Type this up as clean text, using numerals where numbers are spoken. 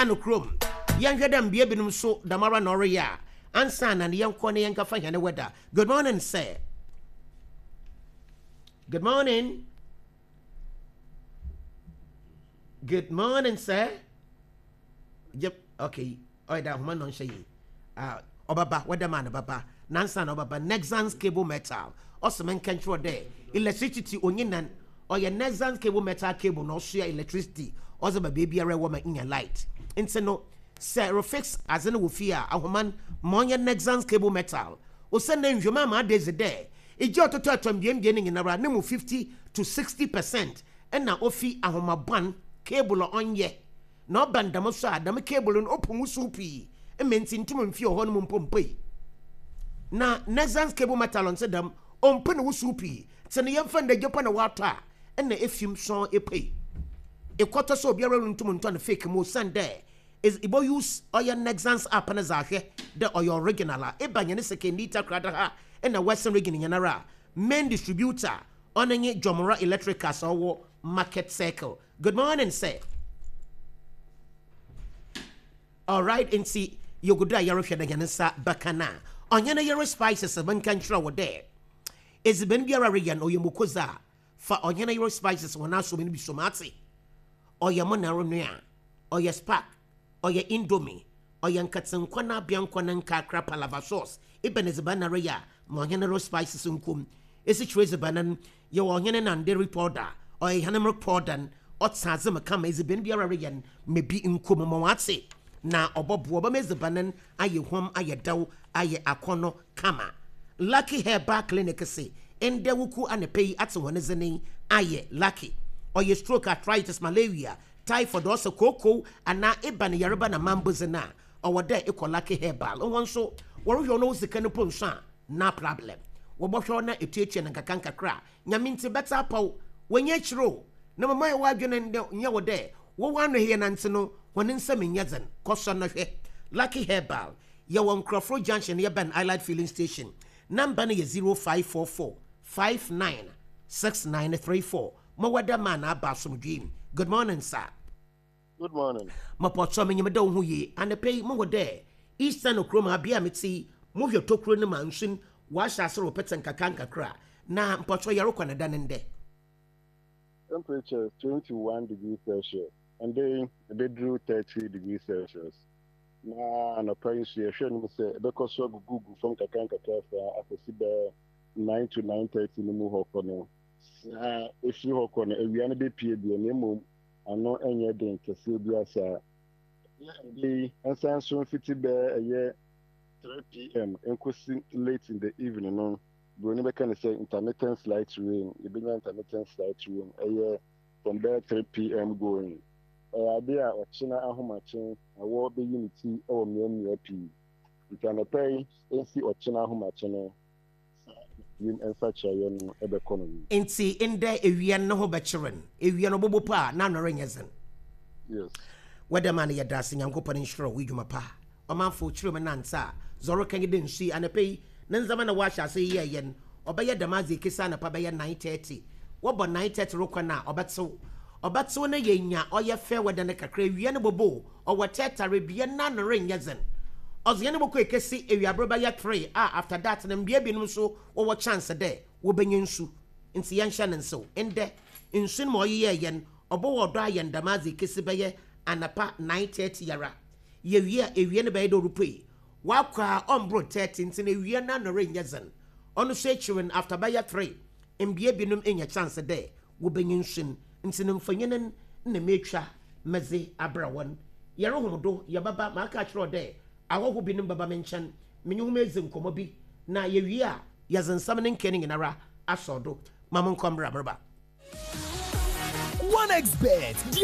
No kurom. Yɛnhwɛ dɛ mbea binom so dɛmara na ɔreyɛ a ansaana na yɛnkɔ na yɛnkɛfa hɛn weather. Good morning sir. Good morning. Good morning sir. Yep, okay. Ɔyɛ dɛ ahoma na ɔnhyɛ yie. Ah, ɔbɛba, weather man bɛba. Nansa na ɔbɛba. Nexans cable metal. Ɔsɛ menka nkyerɛ dɛ electricity onye nan. Ɔyɛ Nexans cable metal cable na ɔsoa electricity ɔdze ba beebiara ɛwɔ ma inya light. Ntsi no, sɛ erefix adze no wɔ fie a, ahoma no, ma ɔnyɛ Nexans cable metal. Osiandɛ nhwehwɛmu ama ada edzi dɛ, egya a ɔtotɔ atɔmbeambea no nyinara no mu 50 to 60% nna ofi ahoma bɔn, cable a ɔnnyɛ. Na ɔba no dɛm so a, dɛm cable no opu wusiw pii ma ntsi nntum mmfi hɔ no mu mpo mmpuei. Na Nexans cable metal nntse dɛm, ommpu no wusiw pii. Tse no yɛmfa no dɛ gya mpo na wɔatɔ a, nna efi mu sɔnn epuei. Ekɔtɔ so a obiara runntum nntɔ no fake mu osiandɛ edze ibɔ use ɔyɛ Nexans app no dze ahwɛ dɛ ɔyɛ original a. Eba hɛn Sekondi Takoradi ha na Western Region nyinara a, main distributor ɔno nye Jomora Electricals a ɔwɔ Market Circle. Good morning sir. Alright nti yɛgu do a yɛrohwɛ dɛ hɛn nsa bɛka no a, ɔnye ne yere Spices menka nkyerɛ wo dɛ edziban biara reyɛ no ɔyɛ muoko dze a, fa ɔnye ne yere Spices hɔn asom no bi som atse. Ɔyɛ mo na eronoa, ɔyɛ spark, ɔyɛ indomie, ɔyɛ nkatsenkwa na abeankwa na nkakra palava sauce, ebɛn edziban na ereyɛ a, ma ɔnye no ro spices nko mu. Esikyire edziban no, yɛwɔ ɔhene nanderi powder, ɔyɛ hɛn milk powder no, ɔtse adze mu kama, edziban biara ereyɛ no, ma bi nko mu ma ɔatse na ɔbɔboa, ɔbɛma edziban no ayɛ huam, ayɛ dɛw, ayɛ akɔnnɔ kama. Lucky Herbal Clinic se, ndɛ wuku anapa yi atse hɔn dze ne ayɛ lucky. Ɔyɛ stroke, arthritis, malaria, typhoid, ɔsɛ kookoo anaa eba ne yarba na mambodze no a, ɔwɔ dɛ ekɔ Lucky Herbal. Hɔn so wɔrohwɛ wo na wo sika no mpo nnso a, na problem. Wɔbɔhwɛ wo na etuatua no nkakrankakra a, Nyame ntsi bɛtse apɔw. W'enyi ekyir o, na mbom ayɛ w'adwen ndɛ nnyɛ wo dɛ wɔwɔ ano hɛn nantse no hɔn nsamu nnyɛ dzen. Kɔ sɔ na hwɛ. Lucky Herbal, yɛwɔ Nkorɔforo Junction yɛbɛn Allied Filling Station. Number no yɛ 0544 59 6934. Mowɔ dɛ maa na aba asomdwee mu. Good morning sir. Good morning. Mopɔkyɛw minyim dɛ woho ye. Anapa yi muhu dɛ Eastern kurom ha bea a metse yi mohwɛ tokuro no mu a nsu no wɔahyɛ ase repetse nkakra nkakra. Na mpɔkyɛw yɛrokɔ no dɛn ndɛ? Temperature 21 degrees Celsius, ɛndɛ yi ɛbɛduru 30 degrees Celsius. Na anɔpa yi nso yɛhwɛ no mu sɛ ɛbɛkɔ so agugugu fam kakra nkakra saa akɔsi bɛyɛ 9 to 9:30 no mu hɔ kɔ no. Na ɛfiri hɔ kɔ no awia no bɛpue deɛ na mmom ano nyɛ den kɛseɛ biara saa. Ɛyɛ ɛnde yi nsan nso mfiti bɛyɛ ɛyɛ 3 pm nkosi late in the evening no, buroni bɛka no sɛ intermittent slight rain, yɛbɛnya intermittent slight rain, ɛyɛ from bɛyɛ 3 pm going. Ɛyɛ adeɛ a ɔkyena ahomakye awɔ bɛyi ne ti wɔ mmeammea pii. Nti anɔpa yi nsi ɔkyena ahomakye no, saa wim nsakyeraeɛ no bɛkɔ no no. Ntsi ndɛ ewia no ho bɛkyer no, ewia no ɔbɔbɔ po a n'ano rennyɛ dzen. Yes. Wɛdɛ man yɛda ase Nyankopɔn nhyira wo edwuma pa. Ɔmanfo kyerɛ mu nantse a dza ɔreka nye dɛ nsu yi anapa yi ne ndzɛmba na wɔahyɛ ase yɛɛyɛ no ɔbɛyɛ dɛm adze ekesi anapa bɛyɛ 9:30 wɔbɔ 9:30 rokɔ no a ɔbɛtsew ɔbɛtsew na yenya ɔyɛ fair weather no kakra ewia no bɔbɔ o Ɔwɔ tɛtare bea n'ano rennyɛ dzen. Ɔdze hɛn bɔkɔ ekesi ewiaber bɛyɛ three a after that no mbea binom so wɔwɔ chance dɛ wobenya nsu. Ntsi yɛnhyɛ no nsew. Ndɛ, nsu no ma ɔyeyɛɛ hɛn, ɔbɔwɔ do ayɛ no dɛm adze ekesi bɛyɛ anapa 9:30 ara. Yewie a, ewia no bɛyɛ dɛ orupuei. Ɔakɔ a ɔmmbor 30 ntsi no ewia n'ano rennyɛ dzen. Ɔno so ekyir no after bɛyɛ three, mbea binom enya chance dɛ wobenya nsu no. Ntsi no mfonyin no nna metwa medze abra hɔn. Yɛrohom do, yɛbɛba, maaka akyerɛ wo dɛ ahɔho binom bɛba me nkyɛn, menye hom edzi nkɔmbɔ bi, na yewie a, yɛdze nsɛm ne nkaa no nyinara asɔw do. Ma monkɔ mbra, mereba. 1xBet.